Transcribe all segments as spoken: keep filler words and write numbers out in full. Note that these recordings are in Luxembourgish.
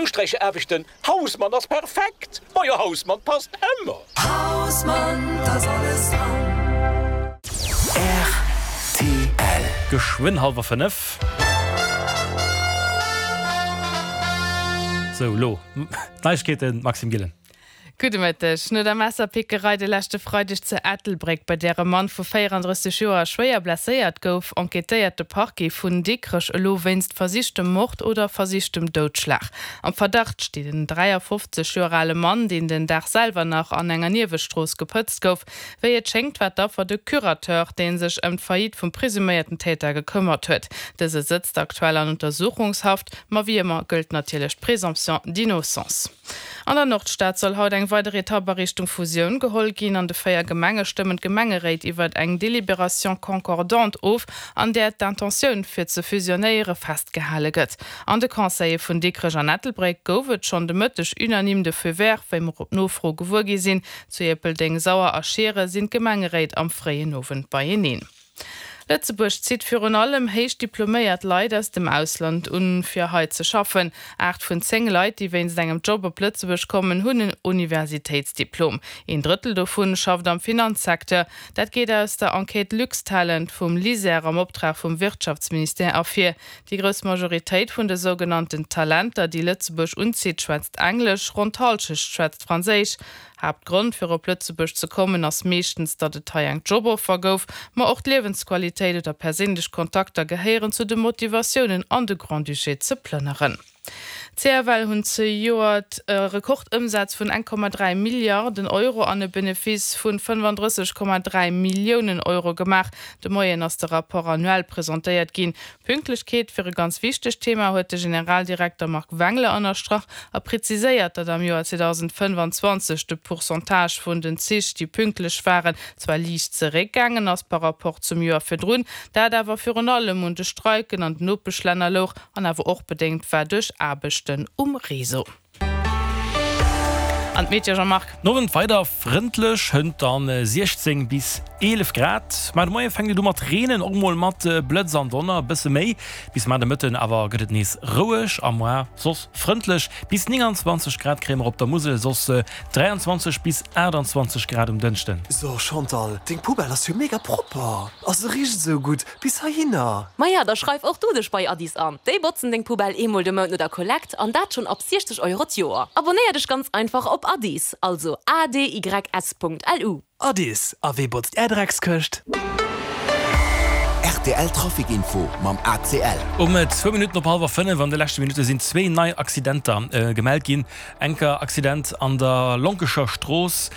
Usträichaarbechten, Hausmann ass perfekt! Majo Hausmann passt ëmmer! Hausmann, 't ass alles dran. Rtl. Geschwënn hallwer fënnef. Sou, lo d'Neiegkeeten, Maxime Gillen. Gudde Mëtteg. No der Messerpickerei de leschte Freideg zu Ettelbréck, bei där e Mann vu véierandrësseg Joer schwéier blesséiert gouf, enquêtéiert de Parquet vun Dikrech elo wéinst versichtem Mord oder versichtem Doudschlag. Am Verdacht steet en dräiafofzeg Joer ale Mann, deen den Dag selwer nach an enger Niewestrooss gepëtzt gouf. Wéi et schéngt, war d'Affer de Curateur, dee sech ëm d'Faillite vum presuméierten Täter gekëmmert huet. Dëse sëtzt aktuell an Untersuchungshaft, ma wéi ëmmer gëllt natierlech d'Présomption d'innocence. An der Nordstad soll haut eng weider Etapp a Richtung Fusioun geholl ginn. An de véier Gemenge stëmmen d'Gemengeréit iwwert eng Délibération concordante of, an där d'Intentioun fir ze fusionéiere festgehale gëtt. An de Conseile vun Dikrech an Ettelbréck gouf et schonn de Mëtteg unanime de Feu vert, wéi mer op Nofro gewuer gi sinn. Zu Ierpeldeng, Sauer a Schiere sinn d'Gemengeréit am fréien Owend beieneen. Lëtzebuerg zitt virun allem héich diploméiert Leit aus dem Ausland un, fir hei ze schaffen. Aacht vun zéng Leit, déi wéinst engem Job op Lëtzebuerg kommen, hunn en Universitéitsdiplom. Een Drëttel dovun schafft am Finanzsecteur. Dat geet aus der Enquête Luxtalent vum LISER am Optrag vum Wirtschaftsministère ervir. Déi grouss Majoritéit vun de sougenannten Talenter, déi Lëtzebuerg unzitt, schwätzt Englesch, ronn d'Hallschecht schwätzt Franséisch. Haaptgrond fir op Lëtzebuerg ze kommen ass meeschtens, datt et hei eng Joboffer gouf, ma och d'Liewensqualitéit oder perséinlech Kontakter gehéieren zu de Motivatiounen an de Grand-Duché ze plënneren. D'CFL hunn zejoert e Rekordëmsaz vun eng Komma dräi Milliarden Euro an e Benefice vun fënnefandrësseg Komma dräi Milliounen Euro gemaach. De Moien ass de Rapport annuel presentéiert ginn. Pünktlechkeet wier e ganz wichtegt Thema, huet de Generaldirekter Marc Wengler ënnerstrach a preziséiert, datt am Joer zweedausendfënnfanzwanzeg de Pourcentage vun den Zich, déi pünktlech waren, zwar liicht zeréckgaangen ass par rapport zum Joer virdrun, dat awer virun allem un de Streiken an den Nopeschlänner louch an awer och bedéngt war duerch Aarbechten um Réseau. An d'Meteo, Jean-Marc? Den Owend weider frëndlech, hënt dann siechzéng bis eelef Grad. Ma de Moie fänkt et u mat reenen, och mol mat Blëtz an Donner, e bësse méi. Bis mar de Mëtten awer gëtt et nees roueg a moar soss frëndlech. Bis nénganzwanzeg Grad kréie mer op der Musel, soss dräianzwanzeg bis aachtanzwanzeg Grad um Dënschden. So Chantal, deng Poubelle ass jo mega propper a se richt esou gutt bis heihinner. Maja, da schreif och du dech bei Addis an. Déi botzen deng Poubelle eemol de Mount no der Kollekt an dat schonn ab siechzeg Euro d'Joer. Abonnéier dech ganz einfach op Addis, also A D Y S punkt L U. Addis, a wee botzt är Dreckskëscht? Rtl Trafic Info mam A C L. Um zwou Minutten op hallwer fënnef an de leschte Minutte sinn zwee nei Accidenter gemellt ginn. Enker Accident an der Lonkescher Strooss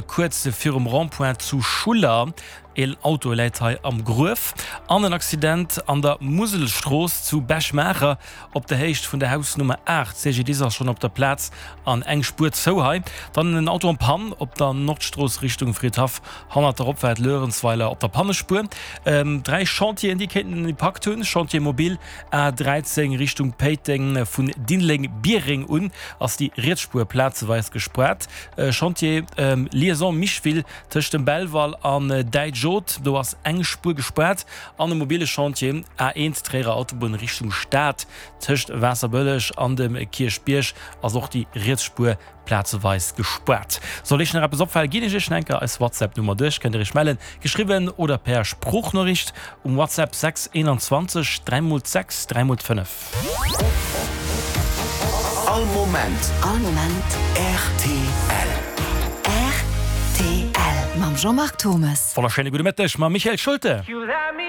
kuerz virum Rond-point zu Schuller. Een Auto läit hei am Gruef. An en Accident an der Muselstrooss zu Bech-Maacher op der Héicht vun der Hausnummer aacht. C G D I S ass schonn op der Plaz an eng Spuer zou hei. Dann en Auto en Panne op der Nordstrooss Richtung Fridhaff hannert der Opfaart Luerenzweiler op der Pannespuer. Dräi Chantieren déi kéinten en Impakt hunn, Chantier mobile A dräizéng Richtung Péiteng vun Diddeleng-Biereng un ass déi riets Spuer plazeweis gespaart. Chantier Liaison Micheville tëscht dem Belval an Däitsch-Oth, do ass eng Spuer gespaart. An e mobile Chantier A eent Tréierer Autobunn Richtung Stad tëscht Waasserbëlleg an dem Kierchbierg ass och déi riets Spuer plazeweis gespaart. Sollt Iech nach eppes opfalen, ginn ech Iech nach enker eis WhatsApp Nummer duerch, kënnt Dir Iech mellen, geschriwwen oder per Sproochnoriicht um WhatsApp sechs einundzwanzeg dräi mol d'sechs dräi mol d'fënnef. All Moment. All Moment. Rtl. Rtl. Mam Jean-Marc Thomes. Wonnerschéine gudde Mëtteg mam Michael Schulte.